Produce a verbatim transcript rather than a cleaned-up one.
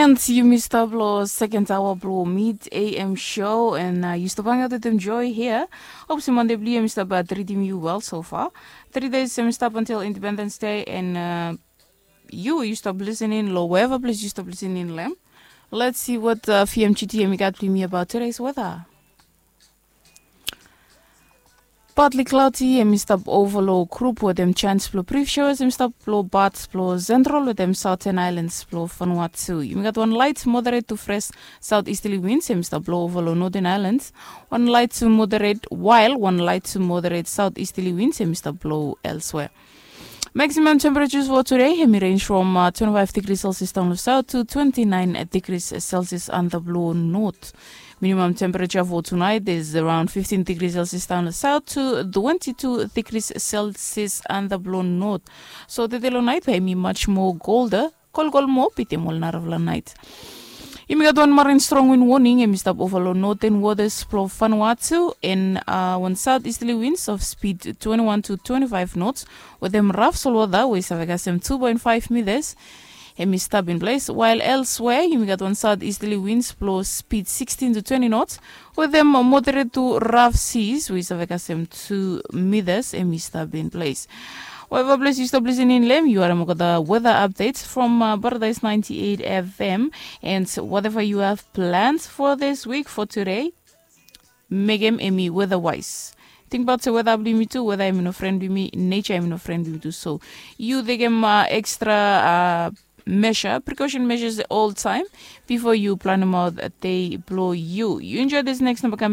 And yumi stap long second hour blong mid am show and uh, yu stap hangat wetem joy here. Hope se monday blong yu em stap uh, treating you well so far. Three days em stap until independence day and uh, you you stop listening lo wherever place you stop listening lem. Let's see what uh, fmgt em got blong me about today's weather. Partly cloudy em i stap ova long grup wetem chance blong brief showers em i stap long parts blong central wetem southern islands blong vanuatu. Yumi gat wan light moderate to fresh south easterly winds em i stap blong ova long northern islands. Wan light to moderate while wan light to moderate south easterly winds em i stap blong elsewhere. Maximum temperatures for today em i range from uh, twenty-five degrees celsius down the south to twenty-nine degrees celsius on the blue north. Minimum temperature for tonight is around fifteen degrees celsius down the south to twenty-two degrees celsius on the blue north. So tede long night em i much more colder, kolkol moa bitim ol narafala night. Yumi gat wan marin strong wind warning em i stap ova long northern waters blong vanuatu and uh, wan south easterly winds of speed twenty-one to twenty-five knots wetem rough solwata we i save kasem two point five meters. Em i stap in place while elsewhere yumi gat wan south easterly winds blong speed sixteen to twenty knots wetem moderate to rough seas we i save kasem two meters em i stap in place. Whatever place you stop listening lem you are mokota weather updates from uh, paradise ninety-eight fm. And whatever you have planned for this week for today, mekem em i weather wise. Tingbaot se weather blong yumi tu weather em i no friend blong yumi, nature em i no friend blong yumi tu so you tekem uh, extra uh, measure precaution measures all time before you plan them out a day blong you you enjoy this next number coming.